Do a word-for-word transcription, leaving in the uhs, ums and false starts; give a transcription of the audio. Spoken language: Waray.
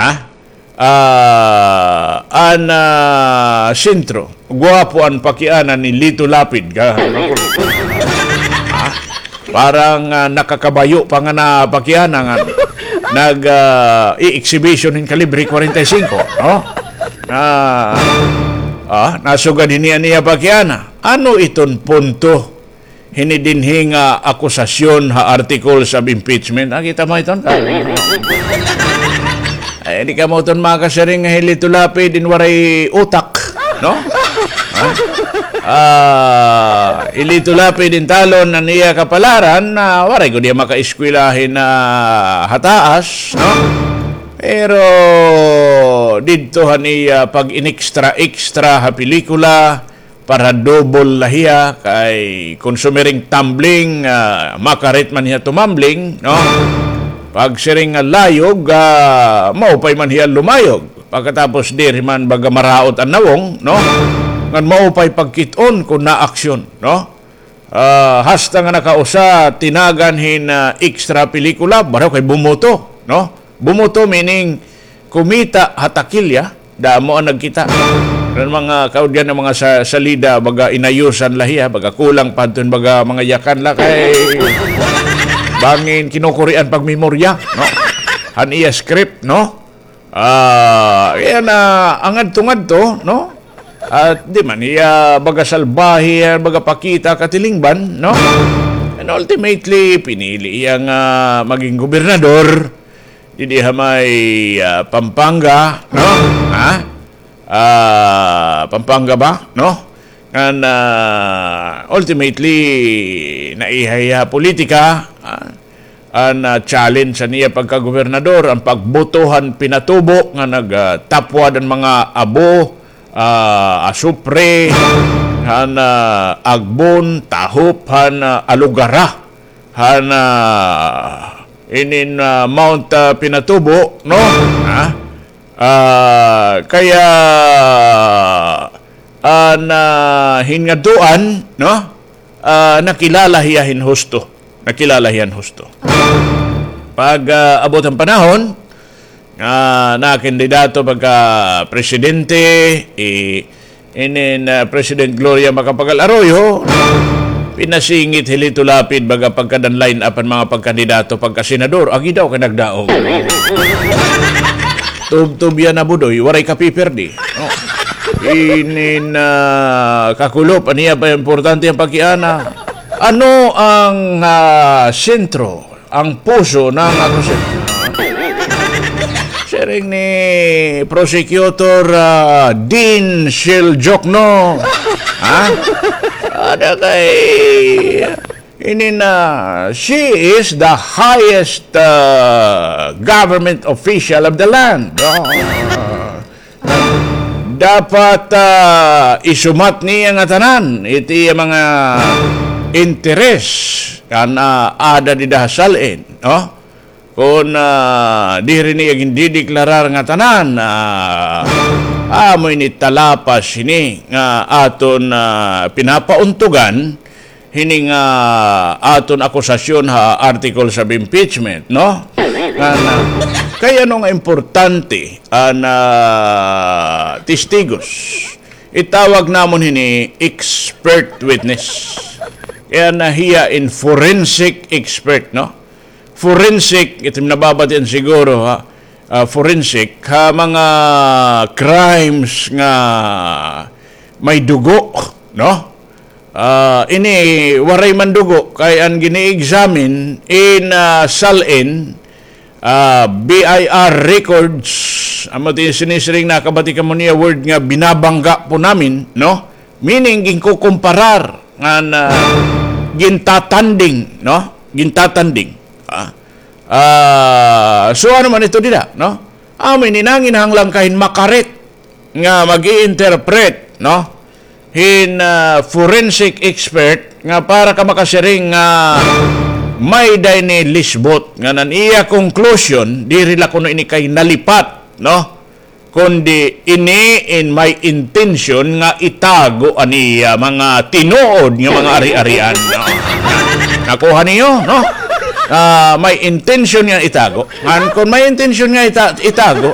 Ah, ah, an, ah, sentro. Guwapo an pakiana ni Lito Lapid. Ka-, ah, parang, ah, nakakabayo pa nga na pakiana nga nag, ah, i-exhibition hin kalibre kwarenta y singko, no? Ah, ah, nasugad hini an iya pakiana. Ano iton punto hini dinhi nga akusasyon ha articles of impeachment? Ah, kita mo iton? Ay, di kamo iton makasiring nga hi Lito Lapid in waray utak, no? Ha? Ah, hi Lito Lapid in talon an iya kapalaran, ah, waray gud hiya makaeskwela hin, ah, ha taas, no? Pero didto han iya pag-inextra-extra ha pelikula, para double la hiya, kay kon sumiring tumbling, ah, makarit man hiya tumambling, no? Pag siring nga layog, ah, maupay man hiya lumayog. Pagkatapos diri man baga maraot an nawong, no? Ngan maupay pagkit-on kon naaksyon, no? Ah, hasta nga nakausa, tinagan hin, ah, extra pelikula, bareho kay bumoto, no? Bumoto meaning kumita ha takilya, damo an nagkita. An mga kaudyan nga mga sa-, salida, baga inayusan la hiya, baga kulang pa adton baga mga yakan la kay bangin kinukurian pagmemorya, no? Han iya script, no? Ah, kaya na, ang ngadto-ngadto, no? At di man hiya baga salbahe, baga pakita katilingban, no? And ultimately, pinili hiya nga maging gobernador. Didi ha may, ah, Pampanga, no? Ha? Ah, Pampanga ba? No? Ngan, ah, ultimately, naiha hiya ha politika, ah, an, ah, challenge han iya pagkagobernador, an pagboto han Pinatubo nga nag, ah, tapwad an mga abo, ah, asupre, han, ah, agbon, tahop, han, ah, alugara, han, ah, inin, ah, Mount, ah, Pinatubo, no? Ha? Ah, kaya, ah, na hin ngadtuan, no? Ah, nakilala hiya hin husto. Nakilala hiya hin husto. Pag, ah, abot han panahon, ah, nakandidato pagka presidente, eh, inin, ah, President Gloria Macapagal Arroyo, pinasingit hi Lito Lapid baga pagkadan line up an mga pagkandidato pagka senador. Agi daw kay nagdaog. Tubtob yana, Budoy, waray ka pipirdi. Oh. Inin, ah, kakulop, an iya pa importante an pakiana. Ano ang, ah, sentro, ang puso ng akusasyon? Siring ni Prosecutor, ah, Dean Siljokno. Ha? Ada kay Ini na, she is the highest, uh, government official of the land. Ah, dapat, ah, isumat niya ngatanan iti mga interes kan, ah, ada dida ha SALN, no? Kon, ah, diri niya gindideklarar ngatanan, ah, amo ini talapas hini nga aton, ah, pinapauntugan hini nga aton akusasyon ha articles of impeachment, no? Nga na, kay ano nga importante an, ah, testigos? Itawag namon hini expert witness. Kay ana hiya in forensic expert, no? Forensic, ito nababatian siguro, ha? Ah, forensic, ha mga crimes nga may dugo, no? Ah, ini waray man dugo, kay an gini-examine in, ah, SALN, ah, B I R records, amo ti sinisiring, nakabati kamo niya word nga binabangga po namin, no? Meaning, ginkukumparar, ngan, ah, gintatanding, no? Gintatanding. Ah, ah, so, ano man ito dida, no? Amo ini nanginahanglan ka hin makarit nga mag-i-interpret, no? Hin, ah, forensic expert nga para ka makasiring nga may-ada ini lisbot ngan an iya conclusion, diri la kuno ini kay nalipat, no? Kundi ini in may intention nga itago an iya mga tinuod nga mga ari-arian, no? Nakuha niyo, no? Ah, may intention nga itago. Ngan kon may intention nga ita-, itago,